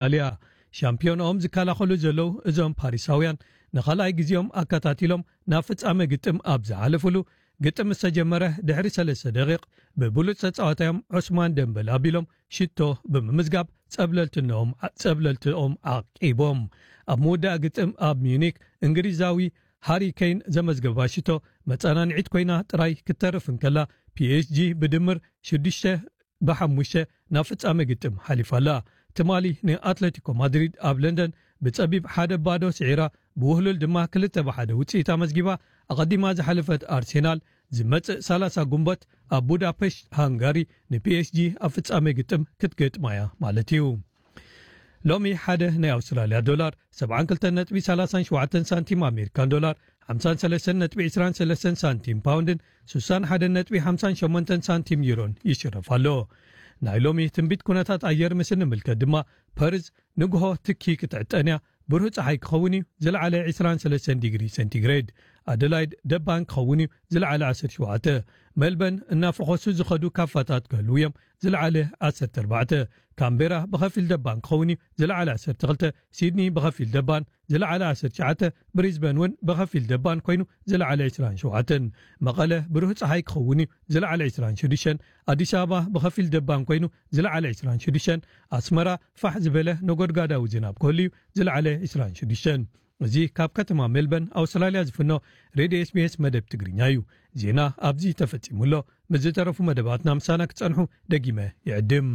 ኣውስትራልያ። ሻምፒዮንኦም ዝከላኸሉ ዘለዉ እዞም ፓሪሳውያን ንኻልኣይ ግዜኦም ኣከታቲሎም ናብ ፍጻመ ግጥም ኣብ ዝሓለፉሉ፣ ግጥም ዝተጀመረ ድሕሪ ሰለስተ ደቂቕ ብብሉጽ ተጻዋታዮም ዑስማን ደምበል ኣቢሎም ሽቶ ብምምዝጋብ ጸብለልትነኦም ጸብለልትኦም ዓቂቦም። ኣብ ምውዳእ ግጥም ኣብ ሚዩኒክ እንግሊዛዊ ሃሪ ኬን ዘመዝገባ ሽቶ መጸናንዒት ኮይና ጥራይ ክትተርፍ እንከላ፣ ፒኤስጂ ብድምር ሽዱሽተ ብሓሙሽተ ናብ ፍጻመ ግጥም ሓሊፋ ኣላ። ትማሊ ንኣትለቲኮ ማድሪድ ኣብ ለንደን ብጸቢብ ሓደ ባዶ ስዒራ፣ ብውህሉል ድማ ክልተ ብሓደ ውጽኢት ኣመዝጊባ። ኣቐዲማ ዝሓለፈት ኣርሴናል ዝመጽእ ሰላሳ ጉንበት ኣብ ቡዳፔሽት ሃንጋሪ ንፒኤስጂ ኣብ ፍጻመ ግጥም ክትገጥማ እያ ማለት እዩ። ሎሚ ሓደ ናይ ኣውስትራልያ ዶላር ሰብዓን ክልተን ነጥቢ ሰላሳን ሸውዓተን ሳንቲም ኣሜሪካን ዶላር፣ ሓምሳን ሰለስተን ነጥቢ ዕስራን ሰለስተን ሳንቲም ፓውንድን፣ ስሳን ሓደን ነጥቢ ሓምሳን ሸሞንተን ሳንቲም ዩሮን ይሽረፍ ኣሎ። ናይ ሎሚ ትንቢት ኩነታት ኣየር ምስ እንምልከት ድማ፣ ፐርዝ ንግሆ ትኪ ክትዕጠን እያ፣ ብሩህ ጸሓይ ክኸውን እዩ፣ ዝለዓለ ዕስራን ሰለስተን ዲግሪ ሴንቲግሬድ። ኣደላይድ ደባን ክኸውን እዩ፣ ዝለዓለ ዓሰርተ ሸውዓተ። ሜልበርን እናፈኾሱ ዝኸዱ ካፋታት ክህልዉ እዮም፣ ዝለዓለ ዓሰርተ ኣርባዕተ። ካምቤራ ብኸፊል ደባን ክኸውን እዩ፣ ዝለዓለ ዓሰርተ ክልተ። ሲድኒ ብኸፊል ደባን፣ ዝለዓለ ዓሰርተ ትሽዓተ። ብሪዝበን እውን ብኸፊል ደባን ኮይኑ፣ ዝለዓለ ዕስራን ሸውዓተን። መቐለ ብሩህ ጸሓይ ክኸውን እዩ፣ ዝለዓለ ዕስራን ሽዱሽተን። ኣዲስ ኣበባ ብኸፊል ደባን ኮይኑ፣ ዝለዓለ ዕስራን ሽዱሽተን። ኣስመራ ፋሕ ዝበለ ነጎድጋዳዊ ዝናብ ክህሉ እዩ፣ ዝለዓለ ዕስራን ሽዱሽተን። እዚ ካብ ከተማ ሜልበርን ኣውስትራልያ ዝፍኖ ሬድዮ ኤስቢኤስ መደብ ትግርኛ እዩ። ዜና ኣብዚ ተፈጺሙ ኣሎ። ምስ ዝተረፉ መደባትና ምሳና ክጸንሑ ደጊመ ይዕድም።